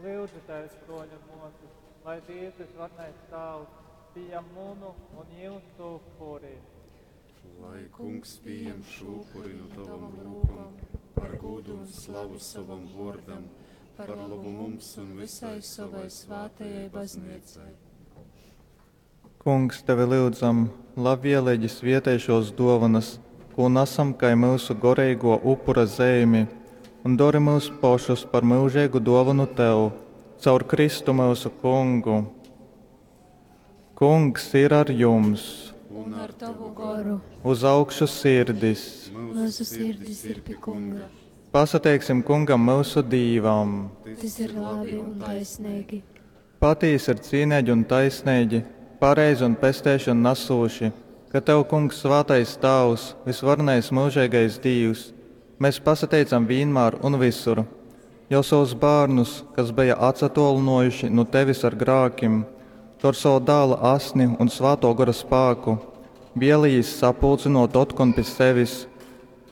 Lyudzitēs, bruoļi un muosys, lai Dīvs Vysvarenais Tāvs pījam munu un jyusu upuri. Lai Kungs pījam šo upuri nu tavom rūkom par gūdu un slavu sovam vuordam, par labu mums un visai sovai svātajai baznīcai. Kungs, tevi lyudzam, labvieleigi svietej šuos duovanas, kū nasam kai myusu goreiguo upura zeimi, un dori myus pošus par myužeigu duovonu tev. Caur Kristu myusu Kungu. Kungs ir ar jums! Un ar tavu goru. Uz augšu sirdis! Myusu sirdis ir pi Kunga. Pasateiksim Kungam myusu Dīvam! Tys ir labi un taisneigi. Patīsi ir cīneigi un taisneigi, pareizi un pesteišonu nasūši, ka tev, Kungs, svātais Tāvs, vysvarenais myužeigais Dīvs, mēs pasateicam vīnmār un vysur, jo sovus bārnus, kas beja atsatōlynōjuši nu tevis ar grākim, tu ar sova Dāla asni un Svātō Gora spāku vēlējīs sapulcynōt otkon pi sevis,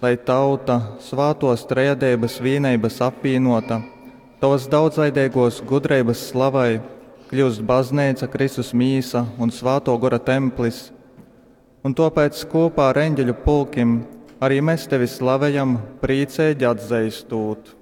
lai tauta, svātōs trejadeibas vīneibas apvīnōta, tovas daudzveideigōs gudreibas slavai, kļyust Bazneica, Kristus mīsa un Svātō Gora templis. Un tōpēc kūpā ar eņģeļu pulkim arī mēs tevi slavejam, prīceigi atzeistūt.